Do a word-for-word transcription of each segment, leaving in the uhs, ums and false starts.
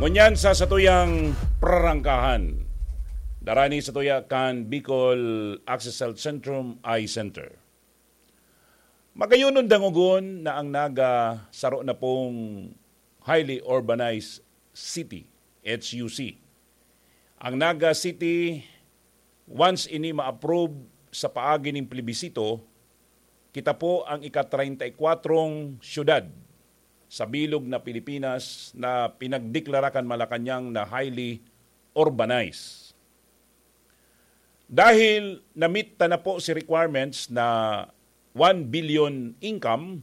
Ngunyan sa satuyang prarangkahan, darani sa tuya kan Bicol Access Health Centrum Eye Center. Magayonon dangogon na ang Naga saro na pong highly urbanized city, H U C. Ang Naga City, once ini ma-approve sa paagi ning plebisito, kita po ang ika-treinta y kuwatrong syudad sa bilog na Pilipinas na pinagdeklara kan Malacañang na highly urbanized. Dahil na-meet ta na po si requirements na one billion income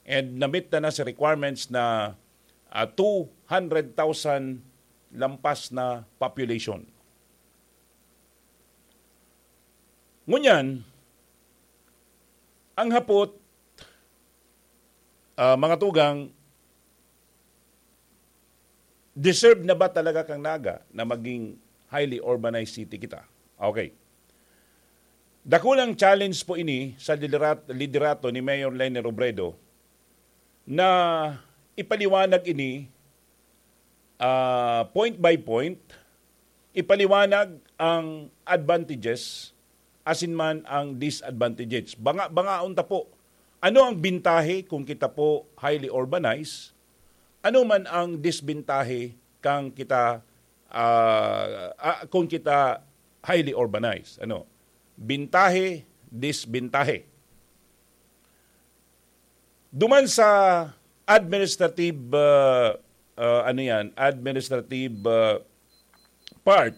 and na-meet ta na si requirements na, ah, two hundred thousand lampas na population. Ngunyan, ang hapot, ah, mga tugang, deserve na ba talaga kang Naga na maging highly urbanized city kita? Okay. Dakulang challenge po ini sa liderat-, liderato ni Mayor Leni Robredo na ipaliwanag ini, ah, point by point, ipaliwanag ang advantages asin man ang disadvantages. Banga-, bangaon ta po, ano ang bintahe kung kita po highly urbanized? Ano man ang disbintahe kang kita, ah, ah, kung kita highly urbanized? Ano? Bintahe, disbintahe. Duman sa administrative, ah, ah, ano yan, administrative, ah, part,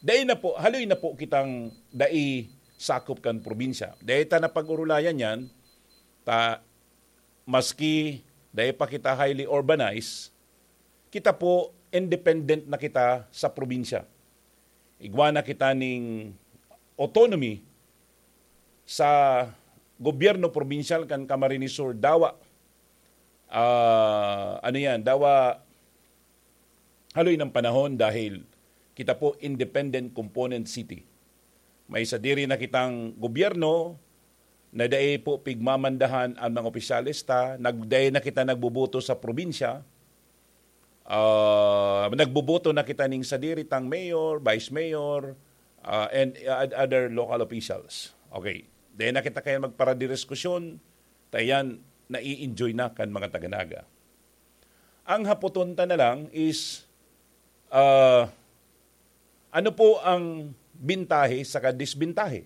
dai na po, haloy na po kitang dai sakop kan probinsya. Dai ta na pag-urulayan yan, ta, maski dai pa kita highly urbanized, kita po independent na kita sa probinsya. Igwa na kita ning autonomy sa gobyerno probinsyal kan Camarines Sur, dawa, ah, ano yan, dawa haloy ng panahon dahil kita po independent component city. May sadiri na kitang gobyerno na dai po pigmamandahan ang mga opisyales ta, nag-, dai na kita nagboboto sa probinsya, ah, nagboboto na kita ning sadiri tang mayor, vice mayor, ah, and, ah, other local officials. Okay. Dai na kita kaya magparadiskusyon, ta yan, nai-enjoy na kan mga taga-Naga. Ang hapoton ta na lang is, ah, ano po ang bintahe saka disbintahe?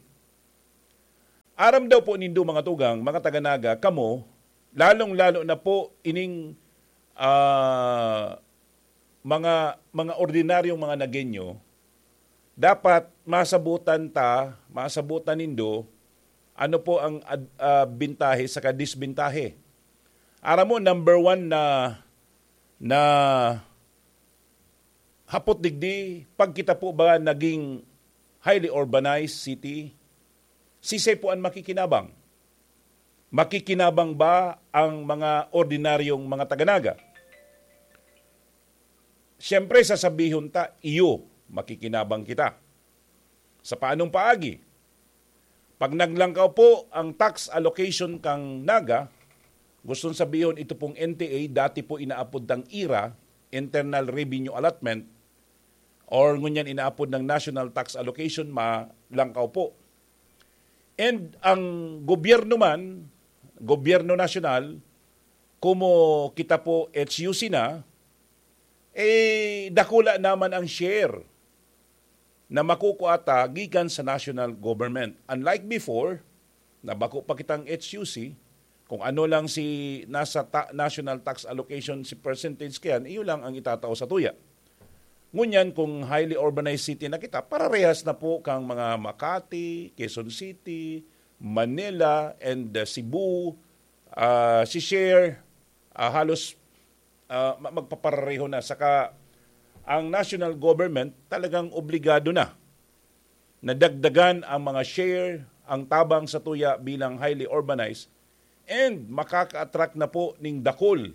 Aram daw po nindo, mga tugang, mga taga-Naga, kamo, lalong-lalo na po ining, ah, mga, mga ordinaryong mga Nagueño, dapat masabutan ta, masabutan nindo, ano po ang ad-, ah, bintahe saka disbintahe. Aram mo, number one na, na hapot digdi, pag kita po ba naging highly urbanized city, sisay po an makikinabang? Makikinabang ba ang mga ordinaryong mga taga-Naga? Siyempre, sasabihon ta, iyo, makikinabang kita. Sa paanong paagi? Pag naglangkaw po ang tax allocation kang Naga, gustong sabihon, ito pong N T A, dati po inaapod tang ira, Internal Revenue Allotment, or ngunyan inaapod ng National Tax Allocation, malangkaw po. And ang gobyerno man, gobyerno nasyonal, kumo kita po H U C na, eh, dakula naman ang share na makukua ta gikan sa national government. Unlike before, na bako pa kitang H U C, kung ano lang si nasa ta-, national tax allocation, si percentage kayan, iyo lang ang itatao sa tuya. Ngunyan, kung highly urbanized city na kita, pararehas na po kang mga Makati, Quezon City, Manila, and, uh, Cebu, ah, si share, ah, halos, ah, ma-, magpaparareho na. Saka ang national government talagang obligado na na dagdagan ang mga share, ang tabang sa tuya bilang highly urbanized, and makaka-attract na po ning dakul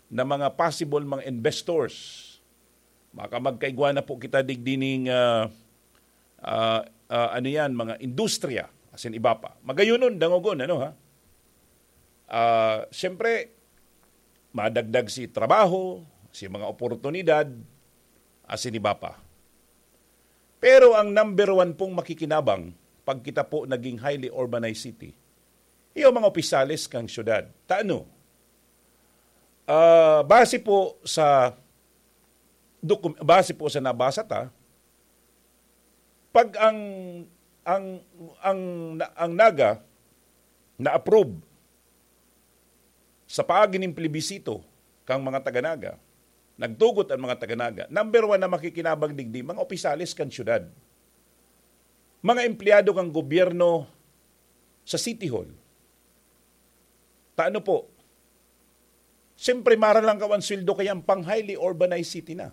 na mga possible mga investors. Maka-, magkaigwa na po kita digdi ning, ah, ah, ah, ano yan, mga industriya, asin iba pa. Magayonon, dangogon, ano ha? Ah, siyempre, madagdag si trabaho, si mga oportunidad, asin iba pa. Pero ang number one pong makikinabang pag kita po naging highly urbanized city, iyo mga opisyales kan syudad. Tano? Ah, base po sa dokum-, base po sa nabasa ta, pag ang ang ang ang Naga na-approve sa paagi nin plebisito kang mga taga-Naga, nagtugot ang mga taga-Naga, number one na makikinabang digdi, mga opisyales kan syudad, mga empleyado kan gobyerno sa City Hall. Tano po? Siyempre, mara lang kaw ang sweldo kayan pang highly urbanized city na.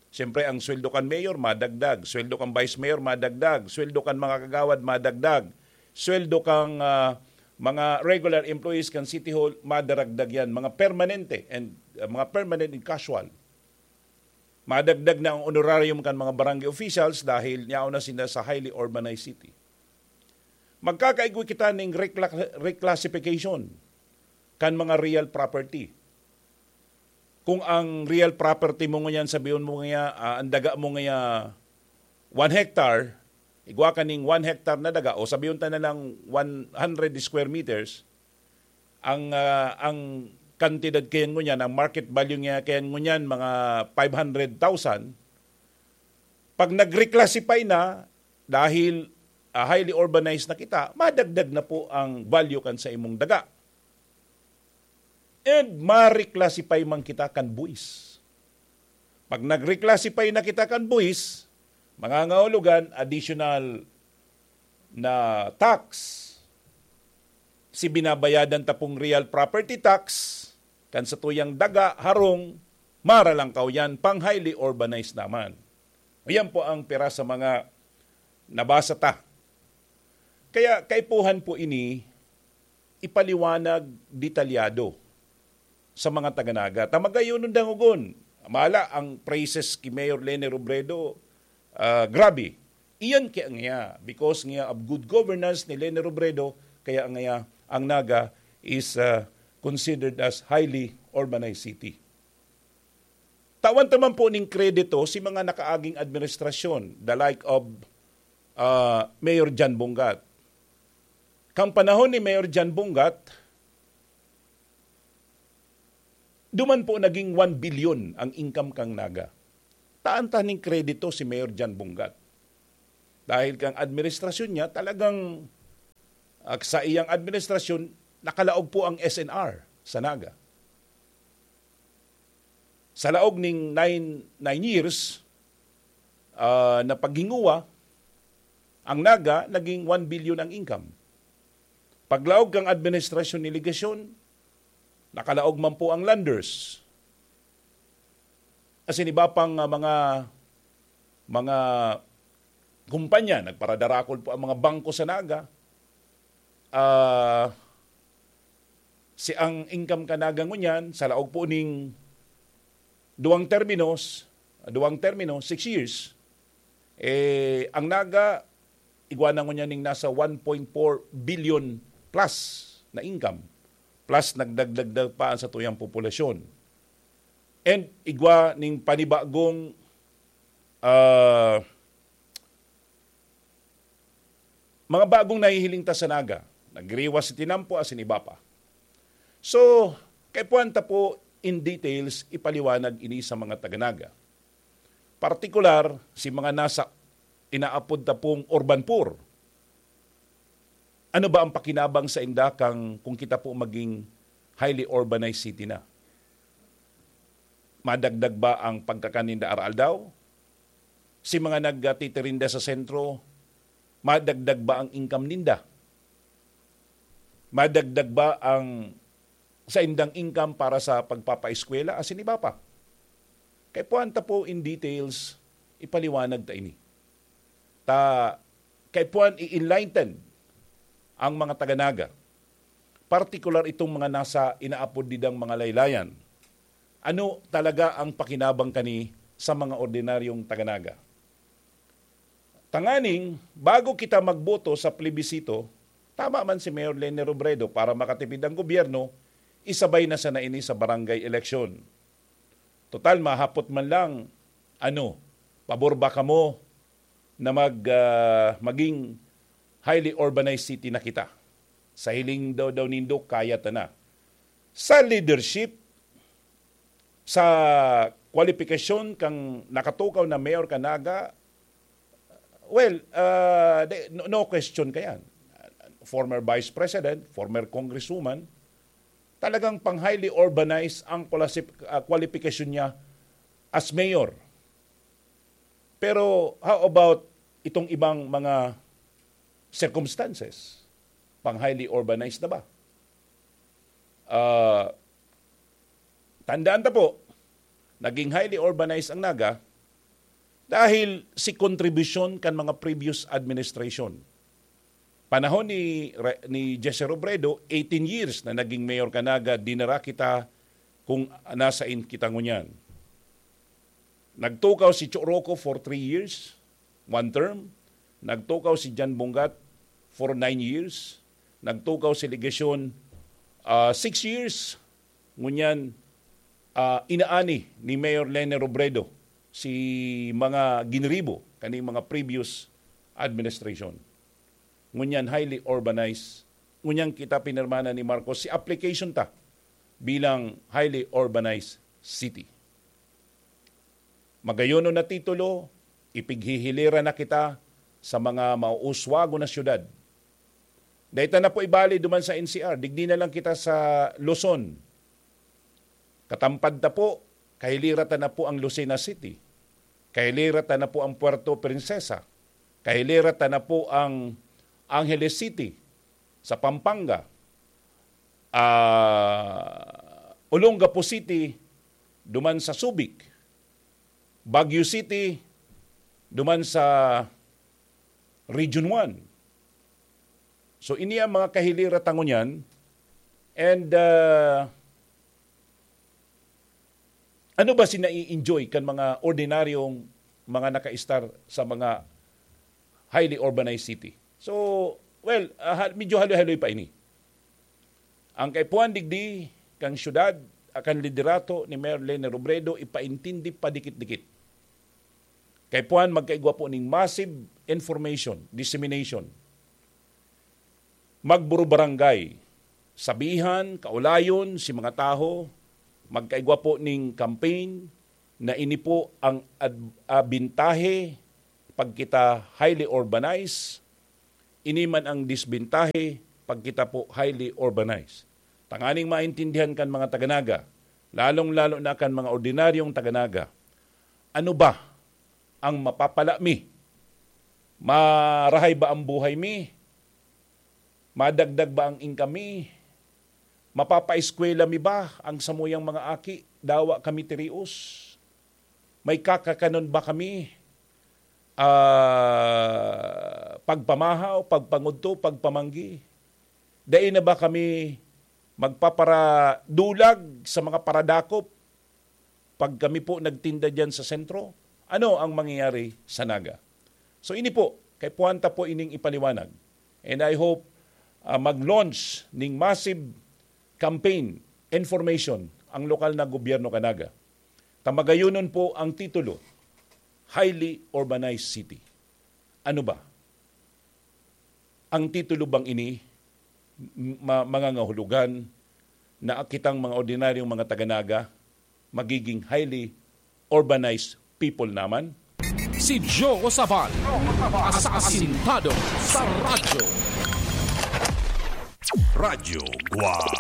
Siyempre, ang sweldo kan mayor, madagdag. Sweldo kan vice mayor, madagdag. Sweldo kan mga kagawad, madagdag. Sweldo kan, ah, mga regular employees kan City Hall, madaragdag yan. Mga permanente and, ah, mga permanent and casual. Madagdag na ang honorarium kan mga barangay officials dahil yaon na sila sa highly urbanized city. Magkakaigwa kita ning recla-, reclassification kan mga real property. Kung ang real property mo ngunyan, sabihon mo nga, ah, ang daga mo nga one hectare, igwa ka ning one hectare na daga, o sabihon ta na lang one hundred square meters, ang, ah, ang kantidad kayan ngunyan, ang market value niya kayan ngunyan, mga five hundred thousand. Pag nag-reclassify na, dahil, ah, highly urbanized na kita, madagdag na po ang value kan sa imong daga. And ma-reclassify man kita kan buwis. Pag nag-reclassify na kita kan buwis, mangangahulugan additional na tax. Si binabayadan ta pong real property tax, kan satuyang daga, harong, mara lang kaw yan, pang highly urbanized naman. Yan po ang pira sa mga nabasa ta. Kaya kaipuhan po ini ipaliwanag detalyado sa mga taga-Naga. Ta magayon dangogon. Mala ang praises ki Mayor Leni Robredo, ah, grabe. Iyan kaya nga, because nga of good governance ni Leni Robredo, kaya nga ang Naga is, ah, considered as highly urbanized city. Tawan ta man po ning kredito si mga nakaaging administrasyon, the like of, ah, Mayor John Bongat. Kan panahon ni Mayor John Bongat, duman po naging one billion ang income kan Naga. Tawan ta ning kredito si Mayor John Bongat. Dahil kan administrasyon niya, talagang, ah, sa iyang administrasyon, nakalaog po ang S N R sa Naga. Sa laog ning nine, nine years, ah, na paghinguwa, ang Naga naging one billion ang income. Paglaog kan administrasyon ni Legacion, nakalaog man po ang Landers. Asin iba pang, ah, mga, mga kumpanya, nagparadarakol po ang mga bangko sa Naga. Ah, si ang income kan Naga ngunyan, sa laog po ning duwang terminos, duwang termino, six years, eh, ang Naga, igwa na ngunyan ning nasa one point four billion plus na income, plus nagdagdag pa ang satuyang populasyon. And igwa ning panibagong, ah, mga bagong nahihiling ta sa Naga, nagriwas si tinampo asin iba pa. So, kaipuhan ta po in details ipaliwanag ini sa mga taga-Naga. Partikular, si mga nasa inaapod ta pong urban poor. Ano ba ang pakinabang sa inda kang kung kita po maging highly urbanized city na? Madagdag ba ang pagkakan ninda aroaldaw? Si mga nagtitirinda sa sentro, madagdag ba ang income ninda? Madagdag ba ang saindang income para sa pagpapaeskwela asin iba pa? Kaipuhan ta po in details, ipaliwanag ta ini. Ta, kaipuhan i-enlighten ang mga taga-Naga, partikular itong mga nasa inaapod didang mga laylayan. Ano talaga ang pakinabang kani sa mga ordinaryong taga-Naga? Tanganing, bago kita magboto sa plebisito, tama man si Mayor Leni Robredo, para makatipid ang gobyerno, isabay na sana ini sa barangay election. Total, mahapot man lang, ano, pabor ba kamo na mag, ah, maging highly urbanized city na kita? Sa hiling daw, daw nindo, kaya ta na. Sa leadership, sa kwalipikasyon kang nakatukaw na mayor ka Naga, well, ah, de-, no, no question ka yan. Former vice president, former congresswoman, talagang pang highly urbanized ang kwalasi-, ah, kwalipikasyon niya as mayor. Pero how about itong ibang mga circumstances? Pang highly urbanized na ba? Ah, tandaan ta po, naging highly urbanized ang Naga dahil si kontribusyon kan mga previous administration. Panahon ni Re-, ni Jesse Robredo, eighteen years na naging mayor ka Naga, dinara kita kung nasain kita ngunyan. Nagtukaw si Cho Roco for three years, one term. Nagtukaw si Jan Bungat for nine years. Nagtukaw si Legacion, ah, six years. Ngunyan, ah, inaani ni Mayor Leni Robredo si mga ginribo kaning mga previous administration. Ngunyan highly urbanized. Ngunyan kita pinirmahan ni Marcos si application ta bilang highly urbanized city. Magayonon na titulo, ipighihilera na kita sa mga mauuswago na syudad. Dai ta na po ibali duman sa N C R, digdi na lang kita sa Luzon. Katampad ta po, kahilera ta na po ang Lucena City. Kahilera ta na po ang Puerto Princesa. Kahilera ta na po ang Angeles City sa Pampanga. Ah, Olongapo City, duman sa Subic. Baguio City, duman sa Region one. So, ini ang mga kahilera ta ngunyan. And, ah, ano ba si nai-enjoy kan mga ordinaryong mga nakaistar sa mga highly urbanized city? So, well, ah, ha-, medyo haloy-haloy pa ini. Ang kaipuhan digdi kan syudad, ah, kan liderato ni Mayor Leni Robredo, ipaintindi pa dikit-dikit. Kaipuhan magkaigwa po ning massive information, dissemination. Magburubarangay, sabihan, kaulayon si mga tawo, magkaigwa po ning campaign na ini po ang ad-, ah, bintahe pag kita highly urbanized, ini man ang disbintahe pag kita po highly urbanized. Tanganing maintindihan kan mga taga Naga, lalong-lalo na kan mga ordinaryong taga Naga, ano ba ang mapapala mi? Marahay ba ang buhay mi? Madagdag ba ang income mi? Mapapaeskwela mi ba ang samuyang mga aki? Dawa kami tirios? May kakakanon ba kami? Ah, pagpamahaw, pagpangudto, pagpamanggi? Dai na ba kami magpaparadulag sa mga paradakop pag kami po nagtinda diyan sa sentro? Ano ang mangyayari sa Naga? So, ini po, kaipuhan ta po ining ipaliwanag. And I hope, ah, mag-launch ning massive campaign, information, ang lokal na gobyerno kan Naga. Ta magayonon po ang titulo, highly urbanized city. Ano ba? Ang titulo bang ini, m-, ma-, mangangahulugan na kitang mga ordinaryong mga taga Naga magiging highly urbanized people naman? Si Joe Sabal, asasintado sa radyo. Radyo Guam.